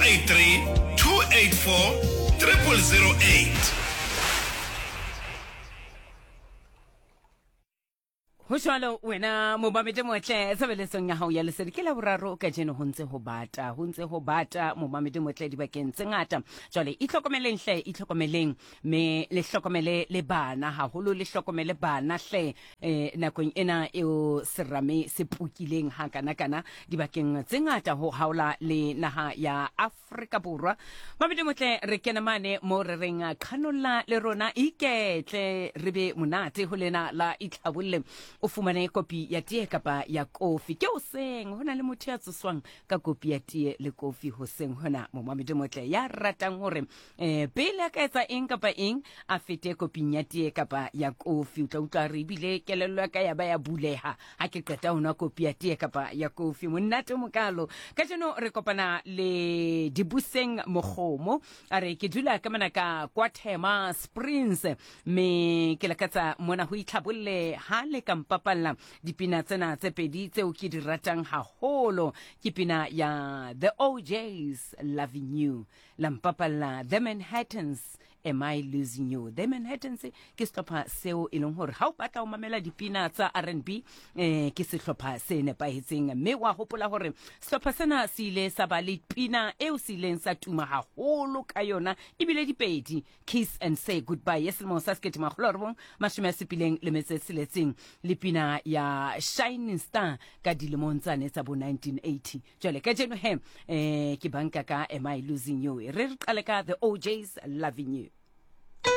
083 284 0008. Ho jwalo wena momamedi motle tshebeletsong ya hao ya lesedi ke la boraro kajeno ho ntse ho bata ho ntse ho bata momamedi motle dibakeng tse ngata jwale itlhokomeleng hle itlhokomeleng me le hlokomele le bana haholo le hlokomele bana hle eh, nakong ena eo serame se pukileng ha kana kana dibakeng tse ngata ho haola le naha ya Afrika Borwa. Mabedi motle re kene mane mo re reng qhanolla le rona iketle re be monate ho lena la itlhabolle o fumane kopi ya tee kapa ya kofi ke hoseng ho na le motho ya tsoswang ka kopi ya tee le kofi hoseng hona momamedi motle ya ratang hore eh pele a ka etsa eng kapa eng a fete koping ya tee kapa ya kofi o tla utlwa re ebile kelello ya ka ya ba ya buleha ha ke qeta ho nwa kopi ya tee kapa ya kofi monate o mokalo kajeno re kopana le dibuseng mogomo a re ke dula ka mona ka kwa thema springs mme ke lakatsa mona ho itlhabolle ha le ka mpapalla dipina tsena tse pedi tseo ke di ratang haholo ke pina ya the ojs loving you la mpapalla The Manhattans Am I Losing You. The Manhattans ke sehlopha seo e leng hore ha o batla ho mamela dipina tsa R&B eh, ke sehlopha se nepahetseng mme wa hopola hore sehlopha sena se ile sa ba le pina eo se ileng sa tuma haholo ka yona ebile dipedi Kiss and Say Goodbye ya selemo sa 1976 le pina ya Shining Star ka dilemong tsane tsa bo 1980 Jwale kajeno he eh ke banka ka Am I Losing You. Re re qale ka The OJs Loving You.